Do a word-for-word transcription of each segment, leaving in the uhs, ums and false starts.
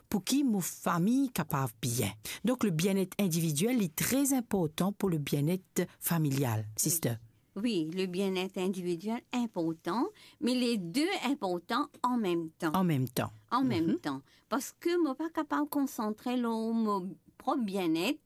pou ki mo fami kapav bien. Donk, le bienet individiel, li tre inportan pou le bienet familial, sister. Wi, le bienet individiel inportan, me le de inportan an mem tan. An mem tan. An mem tan. Parski mo pa kapav konsantre lor mo prop bienet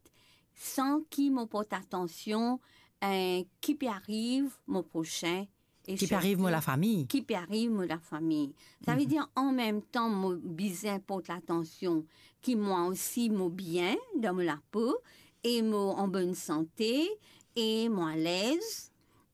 san ki mo port atansion, eh, ki pe ariv mo prosin e sirtou ki pe ariv mo lafami. Ki pe ariv mo lafami. Savedir, an mem tan, mo bizin port latansion ki mwa osi mo bien dan mo lapo, e mo an bonn sante, e mo alez,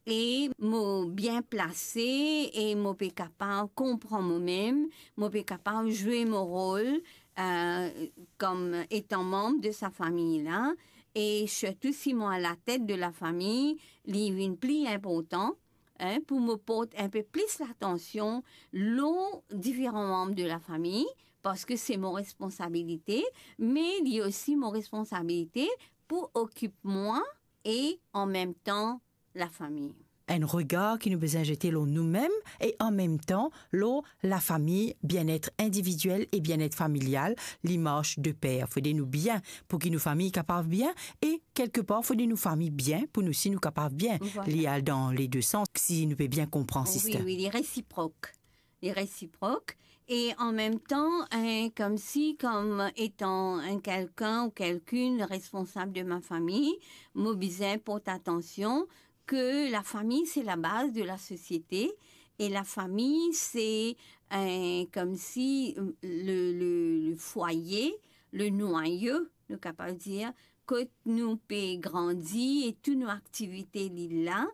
e mo bien plase, e mo pe kapav konpran momem, mo pe kapav zwe mo rol, eh, kom etan manb de sa fami la, e sirtou si mo alatet de lafami, li vinn pli inportan, en, pou mo port inpe plis latansion lor diferan manb de lafami, parski se mo responsabilite, me li osi mo responsabilite pou okip mwa e an mem tan lafami. Enn regar ki nou bizin zete lor noumem e an mem tan lor lafami, bienet individiel e bienet familial, li mars de per. Fode nou bien pou ki nou fami kapav bien e kelkepar fode nou fami bien pou nou si nou kapav bien. Vwala. Li al dan le de sans, si nou pe bien konpran, sister. Wi, wi, li resiprok. Li resiprok. E an mem tan, eh, komsi, kom etan enn kelkenn ou kelkinn responsab de ma fami, mo bizin port atansion ke lafami se labaz de lasosiete, e lafami se, eh, komsi le, le, le fwaye, le nwayo, nou kapav dir, kot nou pe grandi e tou nou aktivite li la,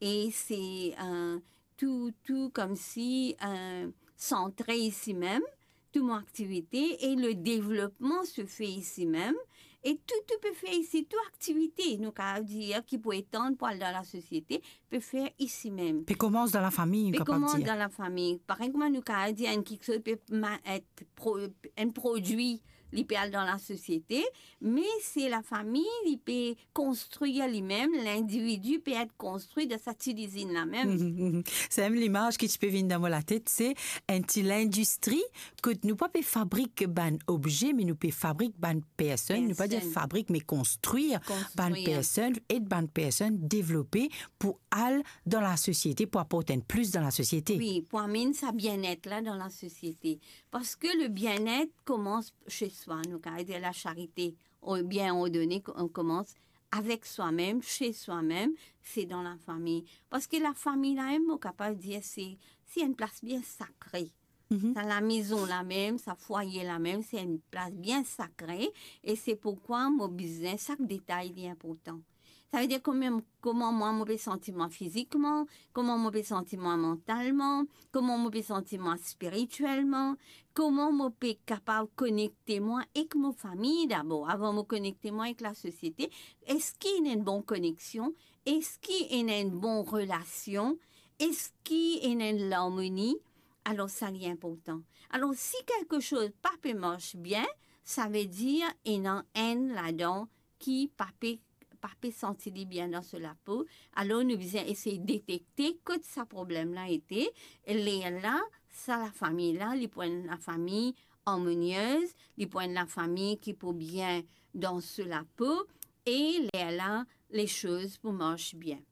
e se, eh, tou, tou komsi, eh, santre isi mem, tou mo aktivite, e le devlopman se fe isi mem, e tou, tou pe fer isi, tou aktivite, nou kapav dir, ki pou etann pou al dan lasosiete, pe fer isi mem. Pe koumans dan lafami, nou kapav dir. Pe koumans dan lafami. Parey kouma nou kapav dir, enn kiksoz pe ma-, et pro-, enn prodwi, li pe al dan lasosiete, me se lafami, li pe konstrir limem, lindividi pe et konstri dan sa ti lizinn la mem. Mhm, mhm. Sa mem limaz ki ti pe vinn dan mo latet, se enn ti lindistri kot nou pa pe fabrik bann obze, me nou pe fabrik bann personn. Nou pa dir fabrik, me konstrir bann personn, ed bann personn devlope pou al dan lasosiete, pou aport enn plis dan lasosiete. Wi, pou amenn sa bienet la dan lasosiete. Parski le bienet koumans se swa, nou kapav dir lasarite, o-, bien ordone, ko-, koumans avek swa mem, se swa mem, se dan lafami. Parski lafami la mem, mo kapav dir, se, se enn plas bien sakre. Mhm. Sa lamezon la mem, sa fwaye la mem, se enn plas bien sakre, e se poukwa mo bizin, sak detay li inportan. Savedir kouma, kouma mwa mo pe santi mwa fizikman, kouma mo pe santi mwa mantalman, kouma mo pe santi mwa spiritielman, kouma mo pe kapav konekte mwa ek mo fami dabor, avan mo konekte mwa ek lasosiete. Eski ena enn bon koneksion? Eski ena enn bon relasion? Eski ena enn larmoni? Alor, sa li inportan. Alor, si kelke soz pa pe mars bien, savedir ena enn ladan ki pa pe, pa pe santi li bien dan so lapo. Alor, nou bizin esey detekte kot sa problem la ete. E lerla, sa lafami la, li pou enn lafami armoniez, li pou enn lafami ki pou bien dan so lapo, e lerla, lesoz pou mars bien.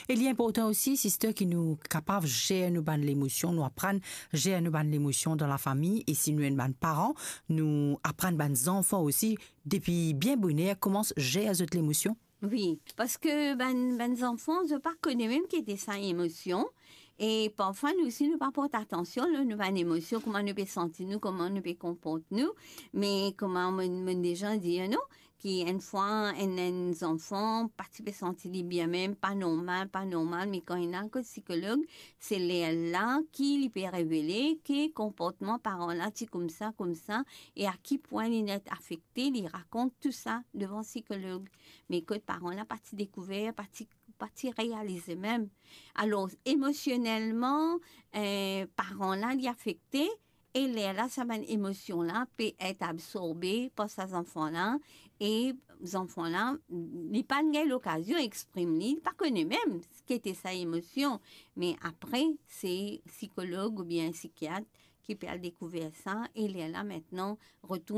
E li inportan osi, sister, ki nou kapav zer nou bann lemosion, nou aprann zer nou bann lemosion dan lafami, e si nou enn bann paran, nou aprann bann zanfan osi, depi bien boner, koumans zer zot lemosion. Wi, parski bann, bann zanfan, zot pa kone mem ki ete sa emosion, e parfwa nou osi, nou pa port atansion lor nou bann emosion, kouma nou pe santi nou, kouma nou pe konport nou, me kouma mo, mo deza dir nou, ki enn fwa enn, enn zanfan pa ti pe santi li bien mem, pa normal, pa normal, me kan li al kot sikolog, se lerla ki li pe revele ki konportman paran la ti koumsa, koumsa, e a ki pwin li net afekte, li rakont tou sa devan sikolog. Me kot paran la pa ti dekouver, pa ti, pa ti realize mem. Alor, emosionelman, eh, paran la, li afekte, e lerla sa bann emosion la pe et absorbe par sa zanfan la, e zanfan la, li pa'nn gagn lokazion exprim li, li pa kone mem ki ete sa emosion, me apre, se sikolog oubien sikiat ki pe al dekouver sa, e lerla, aster, retourn